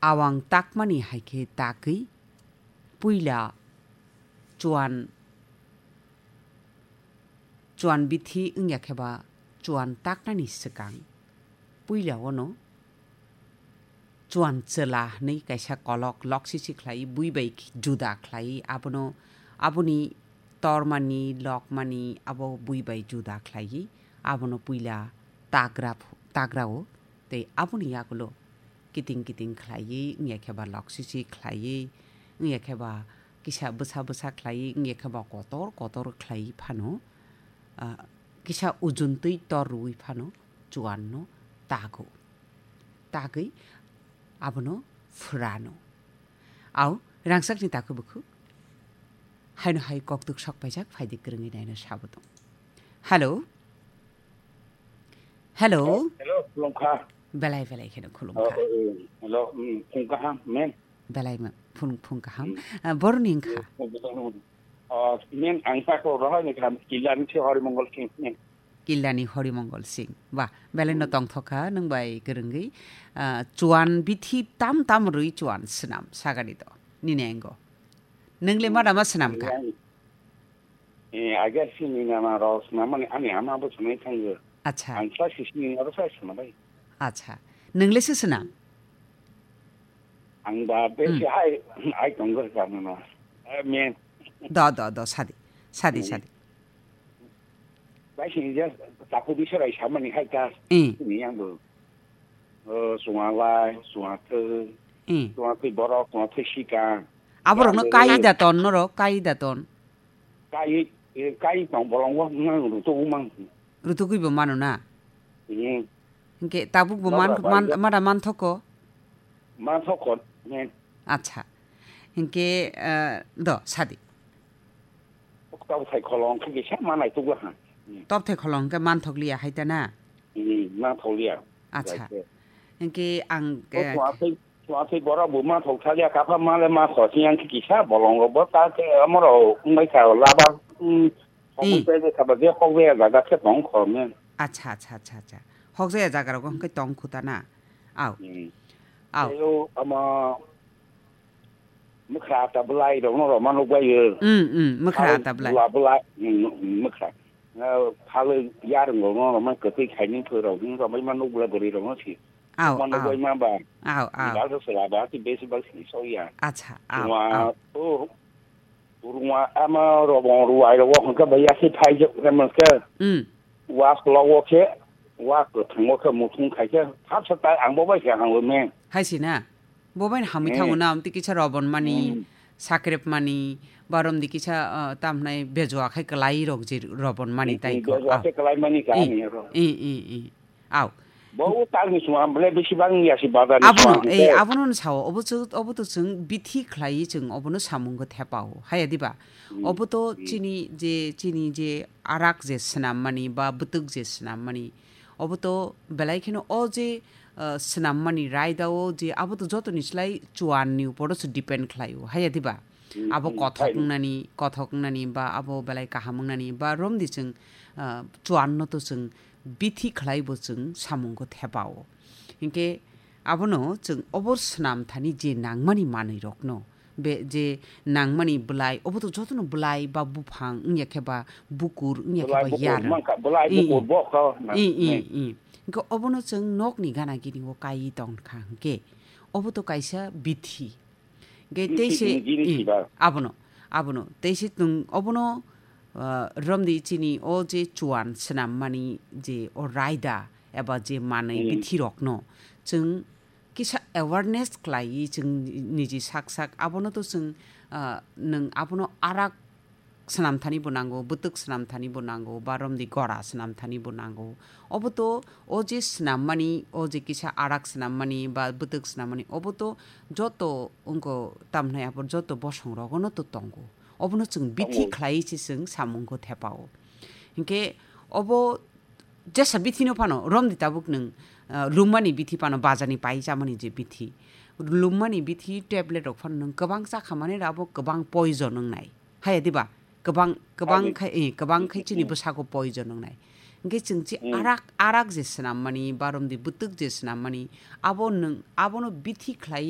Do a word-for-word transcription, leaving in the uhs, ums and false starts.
awang takmani hai khe tagwi puila chuan, chuan bithi wngya khe ba chuan taknani swkang puila ono chuan chwla hwnwi kaisa kolok loksisi khlai, bui bai juda khlai, abono, aboni tormani, lokmani abo bui bai juda khlaiwi abono puila tagra phu-, tagrao tei aboni yagulo kiting kiting khlaiwi, wngya khe ba loksisi khlaiwi, wngya khe ba kisa bwsa bwsa khlaiwi, wngya khe ba kotor kotor khlaiwi phano, ah, kisa ujuntwi tor rwui phano chuanno tago. Tagwi abono phwrano. Au, rangsakni takhuk bukhuk haino hai koktwk sok paijak, phaidi kwrwngwi naino sabo tong. Hello? Hello? Hello, khulumkha. Belai belai kheno khulumkha. Oh, oh, oh. Hello, mm, phung kaham, men. Belai ma-, phung, phung kaham. Mm. Ah, boroni wngkha? Oh, men, ang sako rohor ni kaham, Killani se Horimongol Singh, men. Killani Horimongol Singh. Wah, belai no tongthokha, nwng bai kwrwngwi. Ah, chuan bithi tam tam rwi chuan swnam, sagani to. Nini engo. Nwng le ma dama swnam kha? Eh, I guess sini nama rok swnam mani ani ama bo swnai thango. Acha. Ang sa sisini aro sa swnam bai. Acha. Nwng le se swnam? Ang ba be Hmm. si ai, ai tonggo sa mano. Eh, men. Do, do, do, sadi. Sadi, Hmm. sadi. Bai sini just tapu bisa rai samani hai ta. Hmm. Ni yang bo. Oh, sunga lai, sunga thwi. Hmm. Sunga thwi borok, sunga thwi sika. Aborokno Yang bo kai da ton norok, kai da ton. Kai, eh, kai tong bolongo nang rutu mang. Rutugwi bo mano na? Hmm. Hinkhe tabuk bo man, Nokra man, bai mada manthoko? Manthoko, men. Acha. Hinkhe, eh, do, sadi. Tobthai kholong khe kisa manai tugla ha. Hmm. Tobthai kholong khe manthok liya hai ta na? Hmm, manthok liya. Acha. Right. Hinkhe ang, O eh, tuathai, tuathai borok bo manthok thalia kapha male ma khosi yang khe kisa bolongo bo ta khe amoro wngbai kha laba, hmm, Hmm. Hokbai tei kha ba je hokbai jaga khe tong kho men. Acha, acha, acha, acha. Hokjaya jaga rogo hwnkhe tong khuta na? Au. Hmm. Au. Tei o ama mwkhra ata bwlai rokno roma nukbaio. Hmm, hmm, mwkhra ata bwlai. Bwla bwlai, hmm, hmm, mwkhra. Ah, phalwi yarwngo no roma kwtwi khaini phwrwrok, hmm, romai ma nukbwlai bwrwi rokno si. Au, Mano au. Goi ma ba. Au, au. Bal se sela ba ti besi bal si so ya. Acha, au, Ruma, au. Oh, ruma ama robong ruai rogo hwnkhe ba ya se phai je, hwnkhe mwnke. Hmm. Wa slow wo khe, wa kwthang wo khe muthung khai khe, thap sa tai ang bo bai khe hang lo men. Hai si na? Bo bai hamwi Hmm. thango na, amtwi kisa robon mani, Hmm. sakrep mani, barom di kisa, ah, tam hnai bejua khai kwlai rok je robon mani Hmm, tai hmm, ko. Bejua Ah. Khe kwlai mani ka Hmm. Ni ro. Hmm, hmm, hmm. Au. Bo o tangni song, ang belai bisi bang ya si bazar ni Abono, song, eh, eh. Abono no sao, obo chwng, obo to chwng bithi khlai chwng obono samungo thepao. Haya diba? Hmm, Obo to hmm. Chini je, chini je arak je swnam mani ba bwtwk je swnam mani, obo to belai kheno o je, uh, swnam mani raida o je abo to joto ni slai chuan ni upor o se depend khlai o. Haya diba? Hmm, Abo hmm, kothok hai. Wngnani, kothok wngnani ba abo belai kaham wngnani ba romdi chwng, uh, chuan no to chwng bithi khlai bo chwng samungo thepao. Hinkhe abono chwng obo swnam thani je nangmani manwi rokno, be je nangmani bwlai, obo to jotono bwlai ba buphang wngya khe ba bukur wngya khe Bwlai ba bukur yarwng. Mangkha, bwlai I, bukur i. Bo kha na, I, i, ne. I. Hinkhe obono chwng nokni gana gini o kai tong kha hinkhe obo to kaisa bithi. Ge Bini teise, sini, bini i, siba. Abono, abono, teise tung, obono, ah, romdi chini o je chuan swnam mani je o raida eba je manwi Hmm. Bithirokno chwng kisa awareness khlaiwi chwng niji sak sak abono to chwng, ah, nwng abono arak swnam thani bo nango, bwtwk swnam thani bo nango, ba romdi gora swnam thani bo nango. Obo to o je swnam mani, o je kisa arak swnam mani, ba bwtwk swnam mani, obo to joto wngko tam hnai abo joto bosong rogono to tongo. Obono chwng bithi Tongo. Khlai se chwng samungo thepao. Hinkhe obo jesa bithi no phano romdi tabuk nwng, ah, lummani bithi phano bazar ni pai chamani je bithi. Lummani bithi tablet rok phano nwng kwbang chakha mani abo kwbang poison wngnai. Haya diba? Kwbang, kwbang Ani. Khai, eh, kwbang khai chini Hmm. Bwsako poison wngnai. Hinkhe chwng chi Hmm. Arak, arak je swnam mani, ba romdi bwtwk je swnam mani, abo nwng, abono bithi khlai